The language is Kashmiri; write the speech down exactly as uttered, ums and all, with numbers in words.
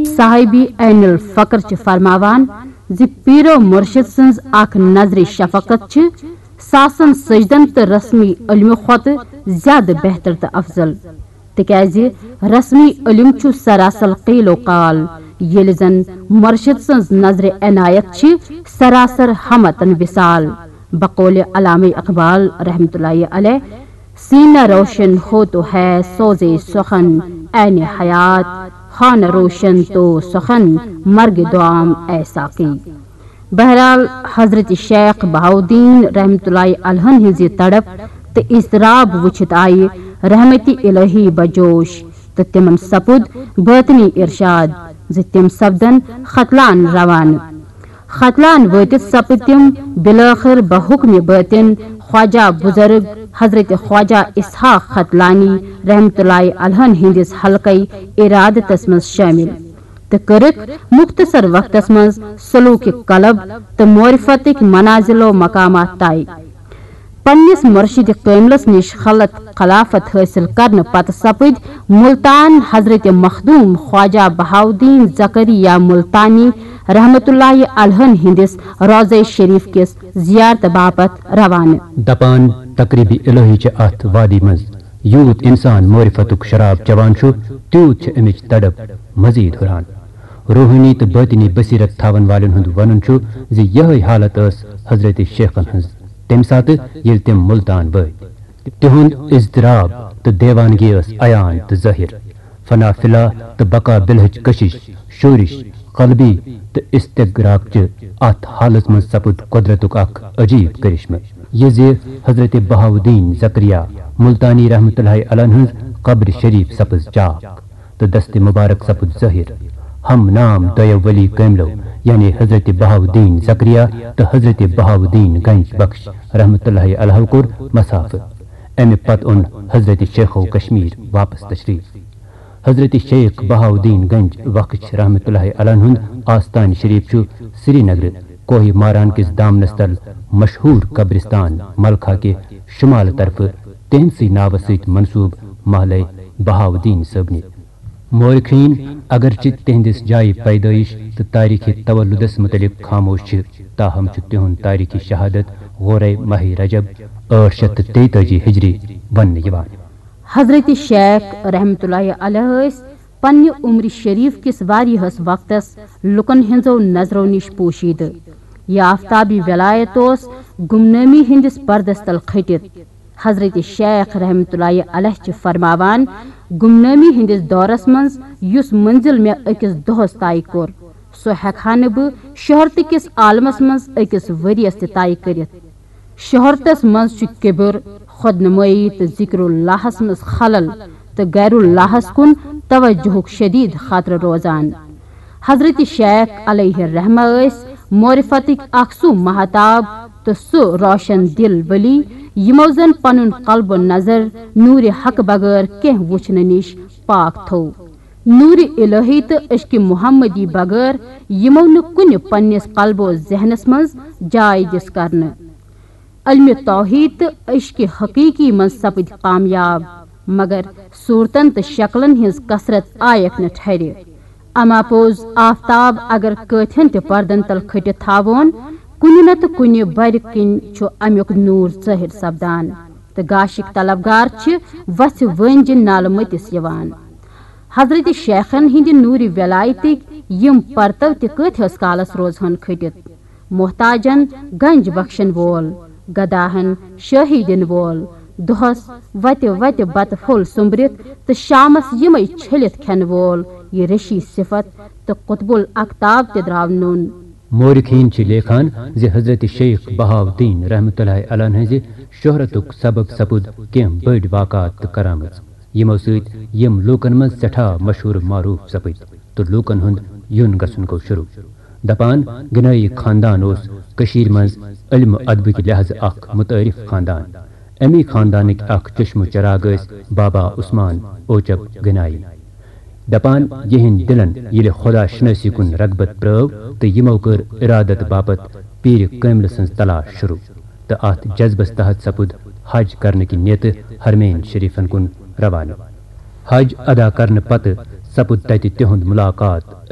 صاحبی عین الفقر چھِ فرماوان زِ پیرو مرشد سٕنٛز اکھ نظرِ شفقت چھِ ساسن سجدن تہٕ رسمی علمہٕ کھۄتہٕ زیادٕ بہتر تہٕ افضل، تِکیازِ رسمی علم چھُ سراسر قیل و قال، ییٚلہِ زن مرشد سٕنٛز نظرِ عنایت چھِ سراسر ہمتن وصال۔ بقول علامہ اقبال رحمۃ اللہ علیہ، سینہ روشن ہو تو ہے سوزے سخن، عین حیات، خانہ روشن تو سخن، مرگ دعام اے ساقی۔ بہرحال، حضرت شیخ بہاؤالدین رحمۃ اللہ علیہ ہٕنٛز یہِ تڑپ تہٕ اضطراب وٕچھِتھ آیہِ رحمت الہی بجوش تہٕ تِمن سپُد باطنی ارشاد زِ تِم سپدن ختلان روانہٕ۔ ختلان وٲتِتھ سپٕدۍ تِم بالآخر بحکم باطن خواجہ بزرگ حضرت خواجہ اسحاق ختلانی رحمۃ اللہ علیہ ہٕنٛدِس حلقے ارادتس منٛز شٲمِل تہٕ کٔرٕکھ مختصر وقتس منٛز سلوک قلب تہٕ معرفتٕکۍ منازل و مقامات طے۔ پننِس مرشد کٲملس نِش خلط خلافت حٲصِل کرنہٕ پتہٕ سپٕدۍ ملتان حضرت مخدوم خواجہ بہاؤالدین زکریا ملتانی رحمۃ اللہ علیہ ہٕنٛدِس روضہ شریف کِس زیارتہٕ باپتھ روانہٕ۔ دپان، تقریب الہی چھِ اتھ وادی منٛز یوٗت انسان معرفتُک شراب چوان چھُ، تیوٗت چھِ امِچ تڑپ مزید ہُران۔ روحٲنی تہٕ باطنی بصیرت تھاون والٮ۪ن ہُنٛد ونُن چھُ زِ یِہے حالت ٲس حضرت شیخن ہٕنٛز تمہِ ساتہٕ، ییٚلہِ تِم ملتان وٲتۍ۔ تِہُنٛد اضطراب تہٕ دیوانگی ٲس عیان تہٕ ظٲہِر۔ فنا فلا تہٕ بقا بالہٕچ کشش، شورش، قلبی تہٕ استغراق چہِ اتھ حالس منٛز سپُد قدرتُک اکھ عجیب کرشمہٕ، یہِ زِ حضرت بہاؤالدین زکریا ملتانی رحمۃ اللہ علیہ ہٕنٛز قبر شریف سپٕز چاک تہٕ دست مبارک سپُد ظٲہِر۔ ہم نام دۄیو ولی کٲملو، یعنی حضرت بہاؤالدین زکریا تہٕ حضرت بہاؤالدین گنج بخش رحمۃ اللہ علیہ کوٚر مسافہٕ۔ امہِ پتہٕ اوٚن حضرت شیخو کشمیر واپس تشریف۔ حضرت شیخ بہاؤالدین گنج بخش رحمۃ اللہ علیہ ہُنٛد آستان شریف چھُ سرینگرٕ کوہ ماران کِس دامنس تل مشہوٗر قبرستان ملخہ کہِ شمال طرفہٕ تِہنٛدسٕے ناوس سۭتۍ منسوب محلے بہاؤالدین صٲبنہِ۔ مورخین اگرچہ تِہنٛدِس جایہِ پیدٲیش تہٕ تاریخی تولدس متعلق خاموش چھِ، تاہم چھُ تِہُنٛد تاریخی شہادت غورے ماہ رجب ٲٹھ شیٚتھ تہٕ تیتٲجی ہجری وننہٕ یِوان۔ حضرت شیخ رحمت اللہ علیہ ٲسۍ پننہِ عمر شریف کِس واریاہس وقتس لُکن ہٕنٛزو نظرو نِش پوشیدٕ۔ یہِ آفتابی ولایت اوس گمنٲمی ہٕنٛدِس پردس تل کھٔٹِتھ۔ حضرت شیخ رحمت اللہ علیہ چھِ فرماوان، گمنٲمی ہٕنٛدِس دورس منٛز یُس منزل مےٚ أکِس دۄہس طے کوٚر، سُہ ہٮ۪کہٕ ہا نہٕ بہٕ شہرتہٕ کِس عالمس منٛز أکِس ؤرِیس تہِ طے کٔرِتھ۔ شہرتس منٛز چھُ کبر، خود نمٲیی تہٕ ذکر اللہس منٛز خلل تہٕ غیر اللہس کُن توجہُک شدید خطرٕ روزان۔ حضرت شیخ علیہ الرحمہ ٲسۍ معرفتٕکۍ اکھ سُہ مہتاب تہٕ سُہ روشن دل ولی، یِمو زن پنُن قلب و نظر نور حق بغٲر کینٛہہ وُچھنہٕ نِش پاک تھوو۔ نور الہی تہٕ عشق محمدی بغٲر یِمو نہٕ کُنہِ پننِس قلب و ذہنس منٛز جاے دِژ کرنہٕ۔ علمِ توحید تہٕ عشقِ حقیقی منٛز سپٕدۍ کامیاب، مگر صورتن تہٕ شکلن ہٕنٛز کثرت آیکھ نہٕ ٹھرِ۔ اما پوٚز، آفتاب اگر کٲتھٮ۪ن تہِ پردن تل کھٔٹِتھ تھاوون، کُنہِ نتہٕ کُنہِ برِ کِنۍ چھُ امیُک نوٗر ظٲہِر سپدان، تہٕ گاشِک طلبگار چھِ وژھِ وٲنجہِ نالہٕ مٔتِس یِوان۔ حضرت شیخن ہٕنٛدِ نوٗرِ ولایتٕکۍ یِم پرتو تہِ کٲتھِس کالس روزہن کھٔٹِتھ؟ محتاجن گنج بخشن وول، گداہن شٲہی دِنہٕ وول، دۄہس وتہِ وتہِ بتہٕ پھوٚل سوٚمبرِتھ تہٕ شامس یِمے چھٔلِتھ کھٮ۪نہٕ وول، یہِ ریشی صفت تہٕ قطب الاقطاب تہِ درٛاو نوٚن۔ مورخین چھِ لیکھان زِ حضرت شیخ بہاؤالدین رحمت اللہ علیہ ہٕنٛزِ شہرتُک سبب سپُد کینٛہہ بٔڑۍ واقعات تہٕ کرامژ، یِمو سۭتۍ یِم لوٗکن منٛز سٮ۪ٹھاہ مشہوٗر معروٗف سپٕدۍ تہٕ لوٗکن ہُنٛد یُن گژھُن گوٚو شروٗع۔ دپان، گنٲیی خاندان اوس کٔشیٖرِ منٛز علم و ادبٕکۍ لحاظہٕ اکھ متعارف خاندان۔ امی خاندانٕکۍ اکھ چشم و چراغ ٲسۍ بابا عثمان اوچپ گنایی۔ دپان، یِہنٛدۍ دلن ییٚلہِ خدا شنٲسی کُن رغبت پرٲو تہٕ یِمو کٔر ارادت باپتھ پیٖرِ کٲملہٕ سٕنٛز تلاش شروٗع تہٕ اتھ جذبس تحت سپُد حج کرنہٕ کہِ نیتہٕ حرمین شریفن کُن روانہٕ۔ حج ادا کرنہٕ پتہٕ سپُد تتہِ تِہُنٛد ملاقات